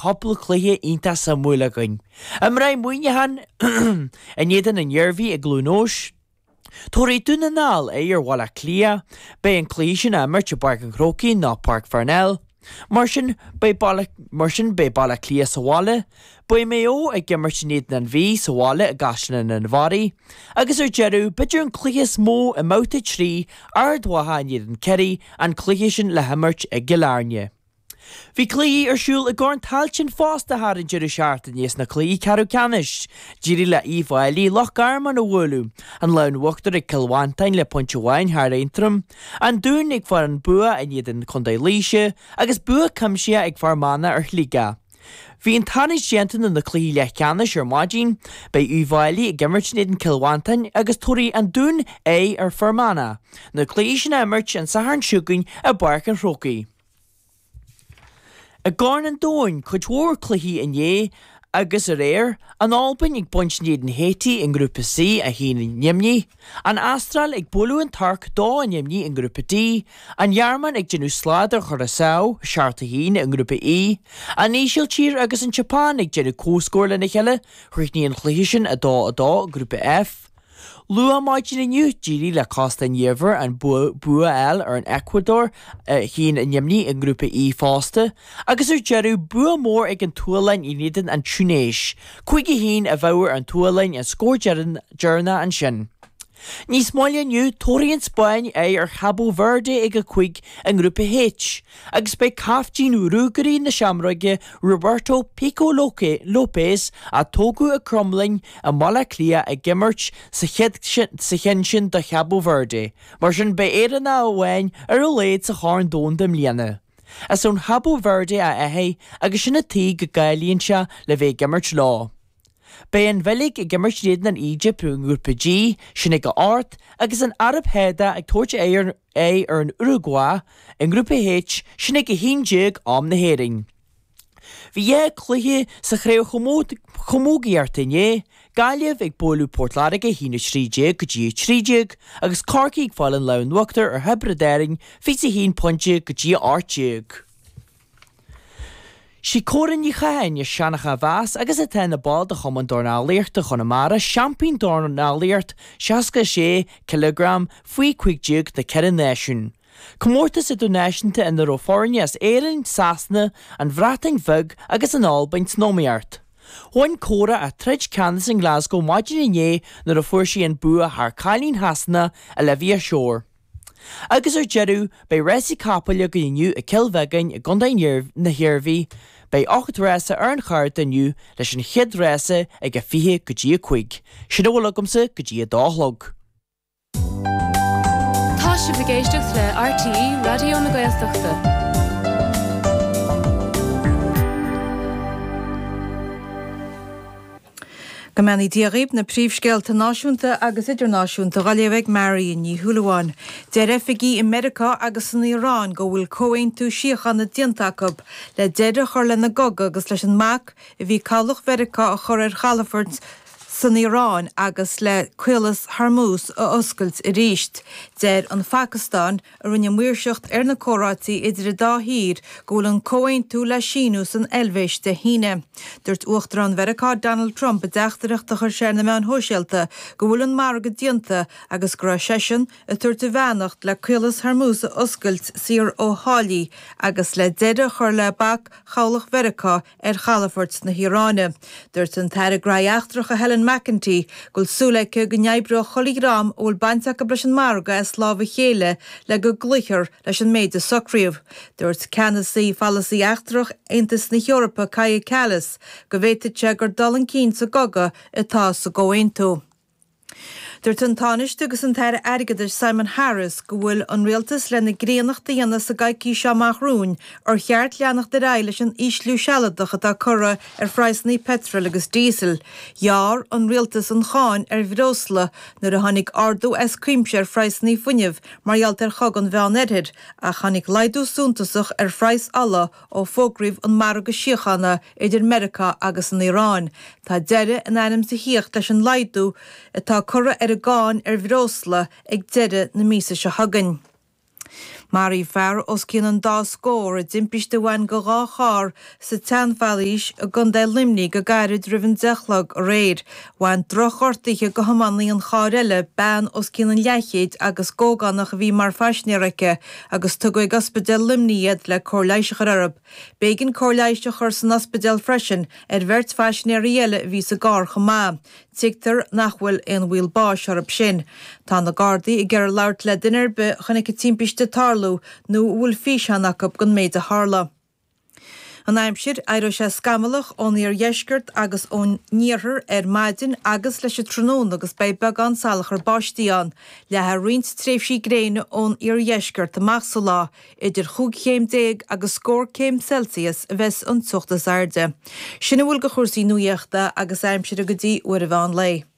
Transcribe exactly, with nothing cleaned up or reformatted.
cúpla cluiche iontach suimiúil againn. Imreoidh Muineachán in éadan an Iarmhí i gCluain Eois. Tabharfaidh Dún na nGall aghaidh ar Bhaile Átha Cliath. Beidh an cluiche sin á imirt i bPáirc an Chrócaigh nó Páirc Pharnell. Mar sin, beidh Baile, mar sin beidh Baile Átha Cliath sa bhaile, beidh Maigh Eo ag imirt in éadan an Mhí sa bhaile i gCaisleán an Bharraigh, agus ar deireadh, b'fhéidir an cluiche is mó i mbabhta trí, Ard Mhacha in éadan Ciarraí, an cluiche sin le himirt i gCill Airne. Bhí cluichí ar siúl i gCorn Tailteann fosta thar an deireadh seachtaine sna cluichí ceathrú ceannais. D'éirigh le Uíbh Fhailí Loch Garman a bhualadh, an lámh in uachtar ag Cill Mhantáin le pointe amháin thar Aontroim, An Dún ag fáil an bua in éadan Chontae Laoise agus bua cuimsitheach ag Fear Manach ar Shligeach. Bhí an tarraingt déanta do na cluichí leathcheannais ar maidin. Beidh Uíbh Fhailí ag imirt in éadan Cill Mhantáin agus tabharfaidh An Dún aghaidh ar Fear Manach. Na cluichí sin á imirt an Satharn seo chugainn i bPáirc an Chrócaigh. I gCorn an Domhain, cuid mhór cluichí inné agus aréir, an Albain ag baint in éadan Haiti i nGrúpa C, a haon i ndeimhní, an Astráil ag bualadh an Tuirc, dó i ndeimhní i nGrúpa D, an Ghearmáin ag déanamh slad ar Churaçao, seacht a haon i nGrúpa E, an Ísiltír agus an tSeapáin ag déanamh comhscóir lena chéile, chríochnaigh an chluiche sin a dó a dó i nGrúpa F. Luath maidin inniu, d'éirigh le Cósta an Iubhair an bua a fháil ar an Eacuadór, a haon i ndeimhní i nGrúpa E fosta, agus ar deireadh, bua mór ag an tSualainn in éadan an Túinéis, cúig a haon i bhfabhar an tSualainn an scór deireanach ansin. Níos moille inniu, tabharfaidh an Spáinn aghaidh ar Chabo Verde ag a cúig i nGrúpa H, agus beidh caiftín Ruagairí na Seamróige Roberto Pico Lopes, a tógadh i gCromghlinn i mBaile Átha Cliath ag imirt sa cheann sin do Chabo Verde. Mar sin beidh Éireannach amháin ar a laghad sa Chorn Domhanda i mbliana. Is ón Chabo Verde a athair agus sin an tuige go gcáilíonn sé le bheith ag imirt leo. Beidh an Bheilg ag imirt in éadan an Éigipt i nGrúpa G, sin ag a hocht, agus an Araib Shádach ag tabhairt aghaidh ar an Uragua i nGrúpa H, sin ag a haon déag am na hÉireann. Bhí dhá chluiche sa chraobh chamógaíochta inné, Gaillimh ag bualadh Port Láirge a haon a trí déag go dtí a trí déag agus Corcaigh ag fáil an lámh in uachtar ar Thiobraid Árann fiche a haon pointe go dtí a ocht déag. Sí Córa Ní Chatháin as Seancha a bheas agus atá ina ball de Chumann Dornálaíochta Chonamara, seaimpín dornálaíocht seasca a sé cileagram faoi cúig déag na ceithre náisiún. Comórtas idirnáisiúnta ina raibh foirne as Éirinn, Sasana, an Bhreatain Bheag agus an Albain san iomaíocht. Bhain Córa a troid ceannais in Glasgow maidin inné nuair a fuair sí an bua thar cailín Shasana, Olivia Shore. Agus ar deireadh, beidh rásaí capaill againn inniu i gCill Bheagáin i gContae na hIarmhí. Beidh ocht rása ar an chárta inniu, leis an chéad rása ag a fiche go dtí a cúig. Sin a bhfuil agamsa go dtí a dó a chlog. Tá sibh ag éisteacht le RTÉ Raidió na Gaeltachta. Go mbeannaí Dia dhaoibh, na príomhscéalta náisiúnta agus idirnáisiúnta á léamh ag Marion Ní Shúilleabháin. Deir oifigigh i Meiriceá agus san Iaráin go bhfuil comhaontú síochána déanta acu le deireadh a chur lena gcogadh agus leis an mbac a bhí cabhlach Mheiriceá a chur ar chalafoirt san Iaráin agus le Caolas Hormuz a oscailt arís. Deir an Phacastáin, a rinne maoirseacht ar na comhráití idir an dá thír, go bhfuil an comhaontú le síniú san Eilvéis Dé hAoine. Dúirt Uachtarán Mheiriceá Donald Trump i dteachtaireacht a chuir sé ar na meáin shóisialta go bhfuil an margadh déanta agus go raibh seisean ag tabhairt a bheannacht le Caolas Hormuz a oscailt saor ó tháillí agus le deireadh a chur le bac chabhlach Mheiriceá ar chalafoirt na hIaráine. Dúirt an tAire Gnóthaí Eachtracha Helen McEntee go bhfuil súil aici go n-oibreoidh chuile dhream a bhfuil baint acu leis an margadh as lámh a chéile le go gcloífear leis an méid a socraíodh. Dúirt ceannasaí pholasaí eachtrach Aontas na hEorpa Kaja Kallas go bhféadfadh sé gur dul chun cinn sa gcogadh atá sa gcomhaontú. Dúirt an Tánaiste agus an tAire Airgeadais Simon Harris go bhfuil an rialtas lena gcríonnacht a dhéanamh sa gcoicís seo amach romhainn ar cheart leanacht ar aghaidh leis an ísliú sealadach atá curtha ar phraghsanna peitril agus díosail. Ghearr an rialtas an cháin ar bhreosla nuair a tháinig ardú as cuimse ar phraghsanna fuinnimh mar gheall ar chogadh an Mheán-Oirthir ach tháinig laghdú suntasach ar phraghas ola ó fógraíodh an margadh síochána idir Meiriceá agus an Iaráin. Tá deireadh in ainm is a thíocht leis an laghdú atá curtha ar an gcáin ar bhreosla ag deireadh na míosa seo chugainn. Maraíodh fear os cionn an dá scór i dtimpiste a bhain go dhá charr sa tSeanfhoraois i gContae Luimnigh go gairid roimh an deich a chlog aréir. Bhain drochghortuithe go thiománaí an chairr eile, bean os cionn an leathchéid agus ógánach a bhí mar phaisinéir aici, agus tugadh ag Ospidéal Luimnigh iad le cóir leighis a chur orthu. B'éigean cóir leighis a chur san ospidéal freisin ar bheirt phaisinéirí eile a bhí sa gcarr chomh maith. Tuigtear nach bhfuil aon bhaol báis orthu sin. Tá na Gardaí ag iarraidh labhairt le duine ar bith a chonaic an timpiste ag tarlú nó a bhfuil físeán acu den méid a tharla. An aimsir, Éireoidh sé scamallach ón iardheisceart agus ón iarthar ar maidin agus leis an tráthnóna agus beidh beagán salachar báistí ann. Leathfaidh roinnt tréimhsí gréine ón iardheisceart amach sa lá. Idir chúig chéim déag agus scór céim Celsius a bheas an teocht is airde. Sin a bhfuil de chúrsaí nuaíochta agus aimsire go dtí uair an mheán lae.